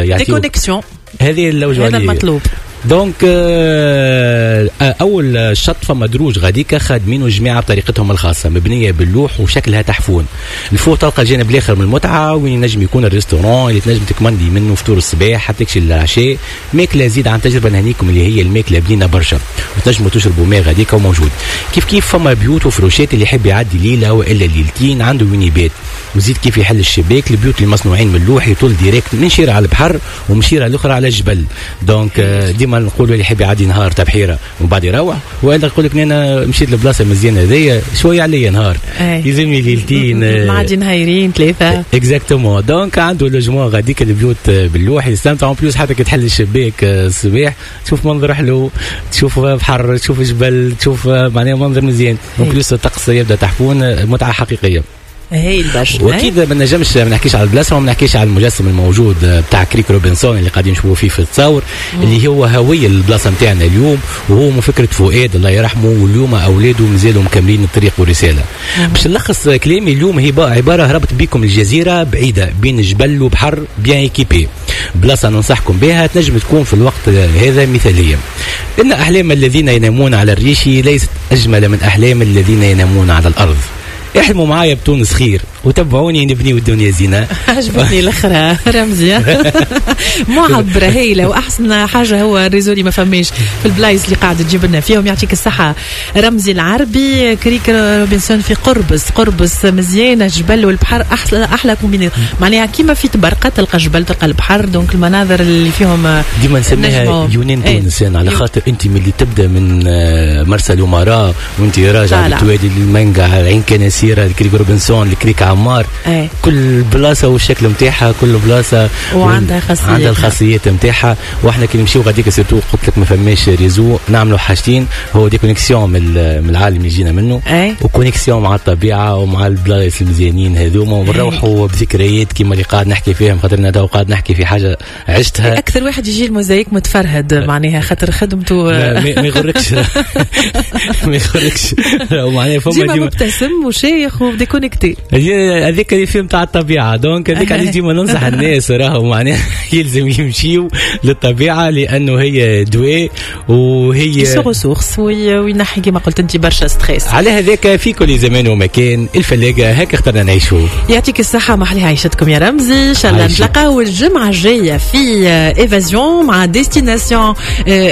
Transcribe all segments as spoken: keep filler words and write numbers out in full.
يعطيو déconnexion. هذه اللوجه. هذا المطلوب. donc آه، اول شط فما دروج غاديكا خادمينه الجماعة بطريقتهم الخاصه، مبنية باللوح وشكلها تحفون. الفوق تلقى الجانب الاخر من المتعه، وين ينجم يكون ال restaurant اللي تنجم تكمندي منه فطور الصباح حتى تكشي العشاء. ماكله زيد عن تجربه نهنيكم اللي هي الماكلة بنينه برشا، وتنجموا تشربوا ماء غاديكا وموجود. كيف كيف فما بيوت وفروشات، اللي يحب يعدي ليلة والا ليلتين عنده وين يبات. وزيد كيف يحل الشباك، البيوت المصنوعين من اللوح يطل direct من شيره على البحر ومن شيره الاخرى على الجبل. donc آه، ديما نقولوا اللي يحب يعدي نهار تبحيره ومن بعد يروح، والا يقول لك انا مشيت لبلاصه مزيانه هذيا، شوية عليا نهار، يلزمني ليلتين. آه، معدي نهايرين ثلاثه. exactement، donc عنده logement غاديك، البيوت باللوح، يستمتع. en plus حتى كي تحل الشباك آه، الصباح تشوف منظر حلو، تشوف بحر، تشوف جبل، تشوف معناها منظر مزيان. en plus الطقس يبدا تحفون، متعه حقيقيه. هايل برشا. واكيد ما نجمش ما نحكيش على البلاصة وما نحكيش على المجسم الموجود بتاع كريك روبنسون اللي قاعدين نشوفوا فيه في التصاور، اللي هو هوية البلاصة نتاعنا اليوم، وهو من فكرة فؤاد الله يرحمه، واليوم اولاده مازالوا مكملين الطريق والرساله. باش نلخص كلامي اليوم، هي عبارة هربت بكم الجزيرة بعيدة بين جبل وبحر bien équipée، بلاصة ننصحكم بها، تنجم تكون في الوقت هذا مثاليه. ان احلام الذين ينامون على الريش ليست اجمل من احلام الذين ينامون على الارض. احلموا معايا بتونس خير وتبعوني نبنيو الدنيا زينة. عجبتني الاخرى رمزي، معبرة هايله، واحسن حاجة هو ال réseau اللي ما فماش في البلايص اللي قاعد تجيب لنا فيهم. يعطيك الصحة رمزي العربي. كريك روبنسون في قربص، قربص مزيانه، الجبل والبحر احلى احلى combinaison، معناها كيما في تبرقه تلقى جبل تلقى البحر، donc المناظر اللي فيهم. ديما نسميها يونان إيه. تونس يعني، على خاطر انت من اللي تبدا من آه، مرسى الامراء وانت راجع بالتوالي للمنقع، عين كناسيره، الكريك روبنسون، الكريك عمار ايه. كل بلاصة والشكل نتاعها، كل بلاصة وعندها خاصيات. عندها الخاصيات نتاعها. واحنا كي نمشيو غاديك surtout قلت لك ما فماش réseau، نعملوا حاجتين: هو déconnexion من من العالم اللي جينا منه ايه. و connexion مع الطبيعة ومع البلايص المزيانين هذوما، ونروحوا بذكريات كيما اللي قاعد نحكي فيهم، خاطر انا قاعد نحكي في حاجة عشتها. اكثر واحد يجي الموزايك متفرهد معناها خاطر خدمته. ما يغركش، ما يغركش. معناها فما ديما مبتسم وشايخ و déconnecté. هذيك الفيلم تاع الطبيعه، donc هذيك علاش ديما ننصح الناس راهو معناها يلزم يمشيو للطبيعة لانه هي دواء وهي se ressource وينحي كما قلت انت برشا stress. على هذاك في كل زمان ومكان الفلاقه، هكا اخترنا نعيشوا. يعطيك الصحه، محلي عيشتكم يا رمزي. ان شاء الله نتلاقاو الجمعة الجاية في évasion مع destination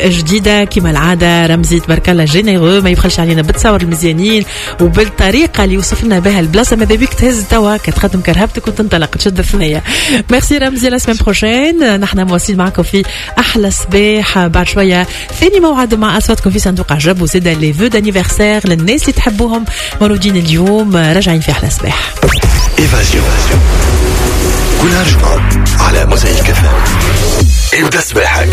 جديدة كما العاده. رمزي تبارك الله généreux، ما يبخلش علينا بالتصاور المزيانين وبالطريقه اللي وصف لنا بها البلاصه. ماذا بيك تهز توا كتخدم كرهبتك وتنطلق تشد الثنيه. ميرسي رمزي، la semaine prochaine. نحن مواصلين معكم في احلى صباح، بعد شوية ثاني موعد مع اصواتكم في صندوق عجب، وزيد les vœux d'anniversaire للناس اللي تحبوهم مولودين اليوم. راجعين في احلى صباح. évasion كل جمعة على موزايك إف إم. ابدا صباحك.